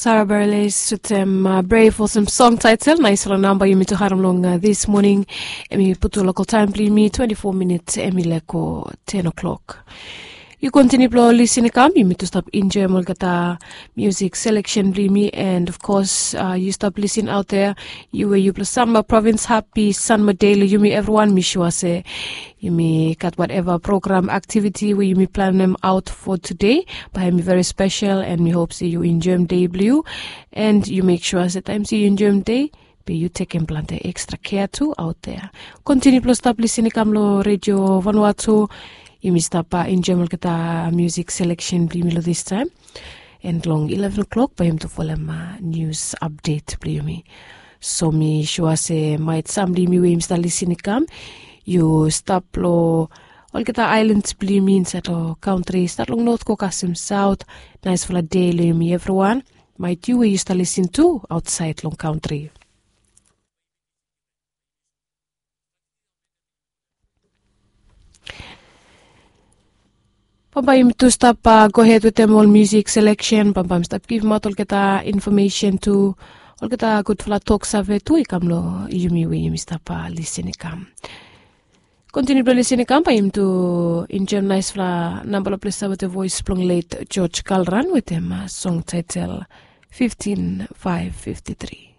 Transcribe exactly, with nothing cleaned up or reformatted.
Sara Berles wetem brave olsem song taitel naispela namba yumi tu harim long this moning. Em i putu lokal taim blong yumi twenti fo minit em i leko ten o'clock. Yu kontiniu blong lisin i kam, yumi tu stap enjoim olgeta musik seleksen blong yumi. And of course, yu stap lisin aut dea, yu we yupela sanma provins, hapi sanma dei long yumi evriwan. Mi sua se yumi gat wateva program aktiviti we yumi planem aut fo tude, bae em i veri spesel. And mi hop se yu enjoim dei blong yu. And yu mek sua se taim se yu enjoim dei, be yu tekem plante ekstra kea tu aut dea. Kontiniu blong stap lisin i kam long redio vanua tu. Yumi stap enjoim olgeta musik seleksen blong yumi long distaim. And long ileven o'clock bae yumi tu folem nius apdet blong yumi. So mi sua se maet sam blong yumi we yumi stap lisin i kam, yu stap long olgeta aelan blong yumi insaet long kantri, stat long not go kasem saut. Naisfala dei long yumi evriwan. Maet yu we yu stap lisin tu aotsaet long kantri. Bambae yumi tu stap gohed wetem ol musik seleksen, bambae mi stap givimaot olgeta infomesen tu, olgeta gudfala toksave tu i kam long yumi we yumi stap lisin i kam. Kontiniu blong lisin i kam, bae yumi tu enjoim naispela namba long ples wetem voes blong let George Kalran wetem song taitel fiftin faef fifti tri.